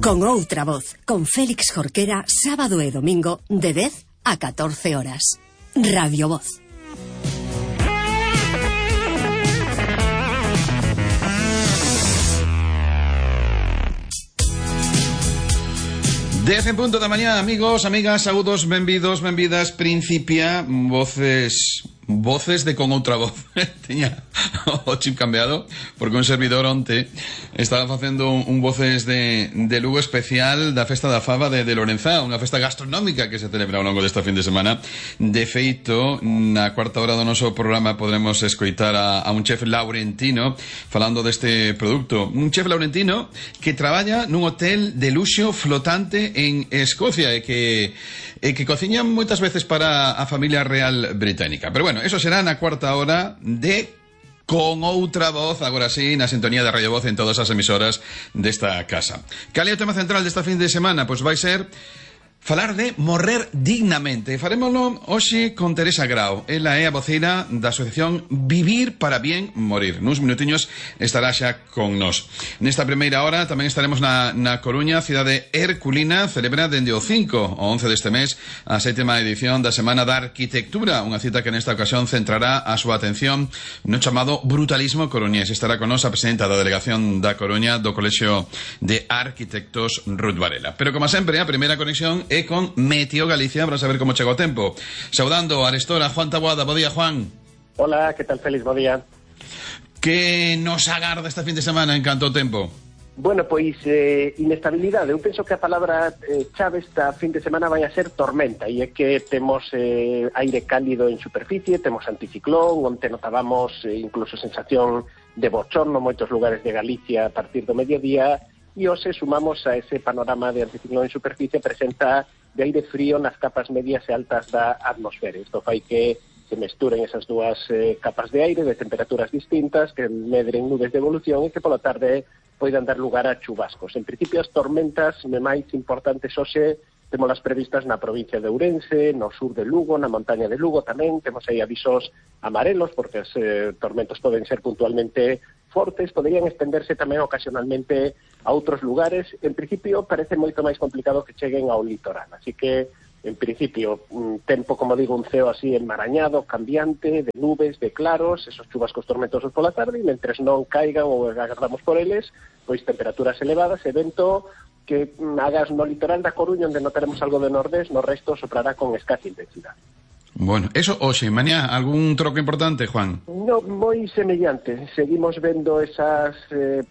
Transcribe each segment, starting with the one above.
Con outra voz, con Félix Jorquera, sábado e domingo de 10 a 14 horas. Radio Voz. Dez en punto da mañá, amigos, amigas, saúdos, benvidos, benvidas. Principia Voces de Con Outra Voz. Tiña o chip cambiado, porque un servidor onte estaba facendo un Voces de Lugo especial da Festa da Faba de Lorenzá, unha festa gastronómica que se celebra ao longo desta fin de semana. De feito, na cuarta hora do noso programa podremos escoitar a un chef laurentino falando deste produto. Un chef laurentino que traballa nun hotel de luxo flotante en Escocia e que cociña moitas veces para a familia real británica. Pero bueno, eso será na cuarta hora de Con Outra Voz, agora sí, na sintonía de Radio Voz en todas as emisoras desta casa. Cal é o tema central desta fin de semana? Pois vai ser falar de morrer dignamente. Farémoslo hoxe con Teresa Grau. Ela é a voceira da asociación Vivir para Bien Morir. Nuns minutiños estará xa con nós. Nesta primeira hora tamén estaremos na Coruña, cidade herculina. Celebra dende o 5 ao 11 deste mes a 7ª edición da Semana da Arquitectura, unha cita que nesta ocasión centrará a súa atención no chamado brutalismo coruñés. Estará con nós a presidenta da delegación da Coruña do Colexio de Arquitectos Ruth Varela. Pero como sempre, a primeira conexión é con Meteo Galicia para saber como chegou o tempo. Saudando a arestora Juan Taboada. Bo día, Juan. Hola, que tal, Félix? Bo día. Que nos agarda este fin de semana en canto ao tempo? Bueno, pois inestabilidade. Eu penso que a palabra chave esta fin de semana vai a ser tormenta, e é que temos aire cálido en superficie, temos anticiclón, onte notábamos incluso sensación de bochorno en moitos lugares de Galicia a partir do mediodía. E hoxe sumamos a ese panorama de anticiclón en superficie presenta de aire frío nas capas medias e altas da atmosfera. Isto fai que se mesturen esas dúas capas de aire de temperaturas distintas, que medren nubes de evolución e que pola tarde poidan dar lugar a chubascos. En principio, as tormentas máis importantes hoxe temolas previstas na provincia de Ourense, no sur de Lugo, na montaña de Lugo tamén. Temos aí avisos amarelos, porque os tormentos poden ser puntualmente fortes, poderían estenderse tamén ocasionalmente a outros lugares. En principio, parece moito máis complicado que cheguen ao litoral. Así que, en principio, un tempo, como digo, un ceo así enmarañado, cambiante, de nubes, de claros, esos chubascos tormentosos pola tarde, e mentres non caigan ou agardamos por eles, pois temperaturas elevadas e vento que hagas no litoral da Coruña, onde notaremos algo de nordés, no resto soprará con escasa intensidade. Bueno, eso hoxe, mañá, algún troco importante, Juan? No, moi semellante. Seguimos vendo esas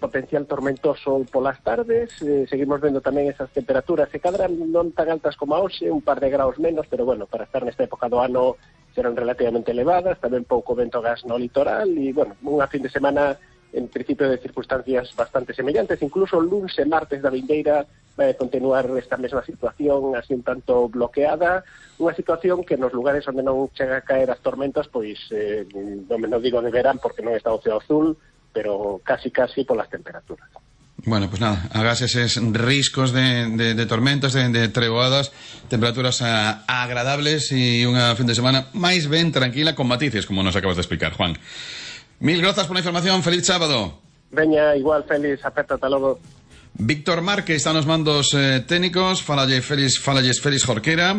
potencial tormentoso polas tardes, seguimos vendo tamén esas temperaturas que cadran non tan altas como a hoxe, un par de graus menos, pero bueno, para estar nesta época do ano serán relativamente elevadas, tamén pouco vento gas no litoral, e bueno, unha fin de semana en principio de circunstancias bastante semellantes. Incluso o lunes e martes da vindeira vai continuar esta mesma situación así un tanto bloqueada, unha situación que nos lugares onde non chega a caer as tormentas, pois non digo de verán porque non está o ceo azul, pero casi polas temperaturas. Bueno, pues nada, hagas eses riscos de tormentas, de tregoadas, temperaturas agradables e unha fin de semana máis ben tranquila con matices, como nos acabas de explicar, Juan. Mil grazas por la información, feliz sábado. Veña, igual, Félix, aperta, ata logo. Víctor Márquez está nos mandos técnicos. Falalles Félix Jorquera.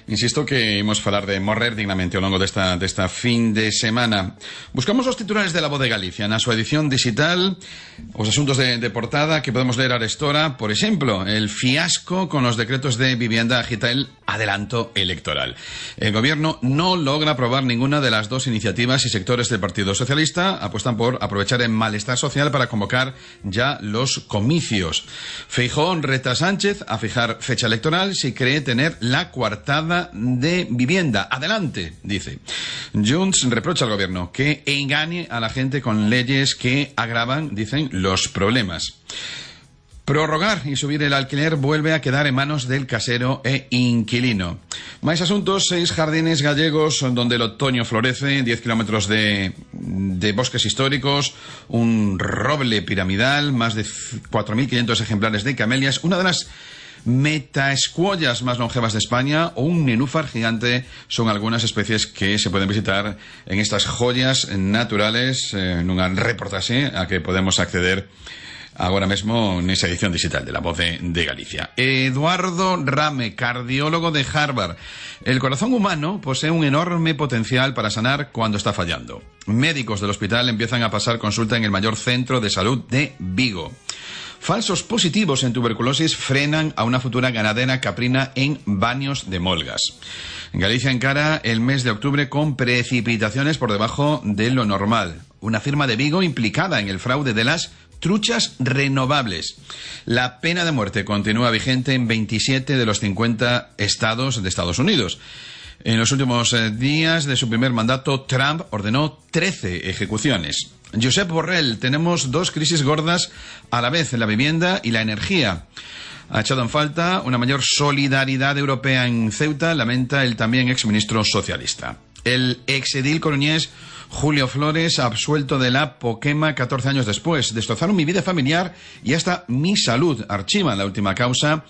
Insisto que imos falar de morrer dignamente ao longo desta fin de semana. Buscamos os titulares de La Voz de Galicia na súa edición digital, os asuntos de portada que podemos ler arestora. Por exemplo, el fiasco con los decretos de vivienda agita el adelanto electoral. El gobierno no logra aprobar ninguna de las dos iniciativas y sectores del Partido Socialista apuestan por aprovechar el malestar social para convocar ya los comicios. Feijóo reta a Sánchez a fijar fecha electoral si cree tener la coartada de vivienda. Adelante, dice. Junts reprocha al gobierno que engañe a la gente con leyes que agravan, dicen, los problemas. Prorrogar y subir el alquiler vuelve a quedar en manos del casero e inquilino. Más asuntos, 6 jardines gallegos donde el otoño florece, 10 kilómetros de bosques históricos, un roble piramidal, más de 4.500 ejemplares de camelias, una de las metaescuollas más longevas de España o un nenúfar gigante son algunas especies que se pueden visitar en estas joyas naturales, en un reportaje a que podemos acceder agora mesmo nesa edición digital de La Voz de Galicia. Eduardo Rame, cardiólogo de Harvard. El corazón humano posee un enorme potencial para sanar cuando está fallando. Médicos del hospital empiezan a pasar consulta en el mayor centro de salud de Vigo. Falsos positivos en tuberculosis frenan a una futura ganadera caprina en Baños de Molgas. Galicia encara el mes de octubre con precipitaciones por debajo de lo normal. Una firma de Vigo implicada en el fraude de las truchas renovables. La pena de muerte continúa vigente en 27 de los 50 estados de Estados Unidos. En los últimos días de su primer mandato, Trump ordenó 13 ejecuciones. Josep Borrell, tenemos dos crisis gordas a la vez, la vivienda y la energía. Ha echado en falta una mayor solidaridad europea en Ceuta, lamenta el también exministro socialista. El exedil coruñés Julio Flores, absuelto de la Poquema 14 años después. Destrozaron mi vida familiar y hasta mi salud. Archivan la última causa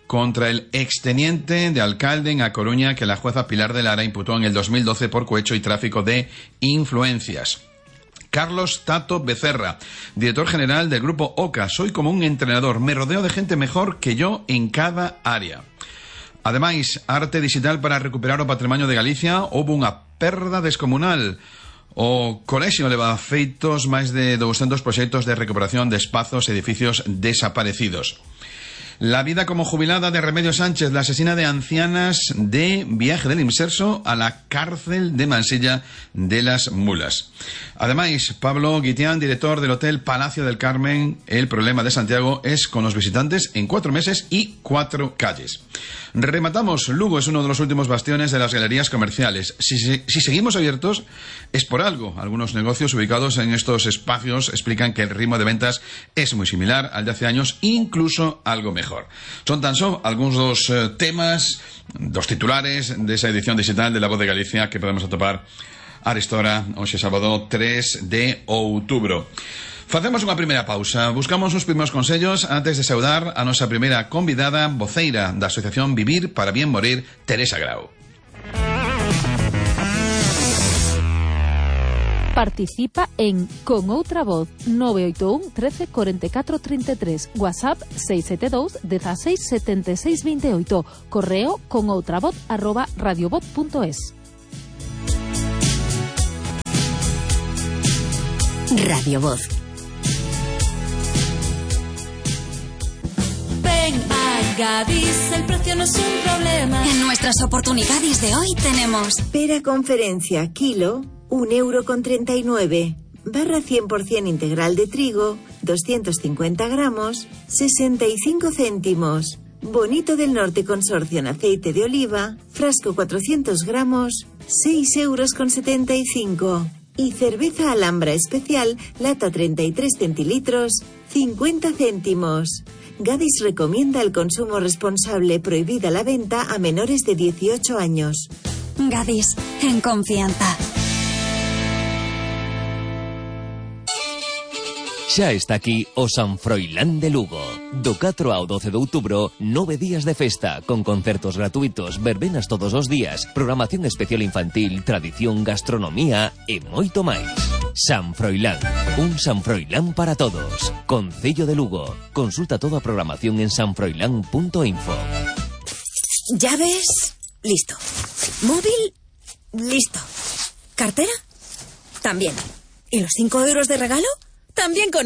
contra el exteniente de alcalde en A Coruña que la jueza Pilar de Lara imputó en el 2012 por cohecho y tráfico de influencias. Carlos Tato Becerra, director general del grupo OCA. Soy como un entrenador, me rodeo de gente mejor que yo en cada área. Ademais, arte digital para recuperar o patrimonio de Galicia. Houve unha perda descomunal. O colexio leva feitos máis de 200 proxectos de recuperación de espazos e edificios desaparecidos. La vida como jubilada de Remedios Sánchez, la asesina de ancianas de Viaje del Inserso a la cárcel de Mansilla de las Mulas. Además, Pablo Guitián, director del Hotel Palacio del Carmen, el problema de Santiago es con los visitantes en 4 meses y 4 calles. Rematamos, Lugo es uno de los últimos bastiones de las galerías comerciales. Si seguimos abiertos, es por algo. Algunos negocios ubicados en estos espacios explican que el ritmo de ventas es muy similar al de hace años, incluso algo mejor. Son tan só algúns dos temas, dos titulares desa edición digital de La Voz de Galicia que podemos atopar a esta hora, hoxe sábado 3 de outubro. Facemos unha primeira pausa, buscamos uns primeiros consellos antes de saudar a nosa primeira convidada, voceira da Asociación Vivir para Bien Morir, Teresa Grau. Participa en Con Outra Voz 981 13 44 33, WhatsApp 672 16 76 28, correo conoutravoz@radiovoz.es. Radio Voz. Ven a Gadis, el precio no es un problema. En nuestras oportunidades de hoy tenemos pera conferencia kilo, 1,39 €, barra 100% integral de trigo, 250 gramos, 65 céntimos. Bonito del Norte Consorcio en aceite de oliva, frasco 400 gramos, 6,75 €. Y cerveza Alhambra especial, lata 33 centilitros, 50 céntimos. Gadis recomienda el consumo responsable, prohibida la venta a menores de 18 años. Gadis, en confianza. Xa está aquí o San Froilán de Lugo. Do 4 ao 12 de outubro, 9 días de festa, con concertos gratuitos, verbenas todos os días, programación especial infantil, tradición, gastronomía e moito máis. San Froilán, un San Froilán para todos. Concello de Lugo. Consulta toda a programación en sanfroilán.info. ¿Llaves? Listo. ¿Móvil? Listo. ¿Cartera? También. ¿Y los 5 € de regalo? También con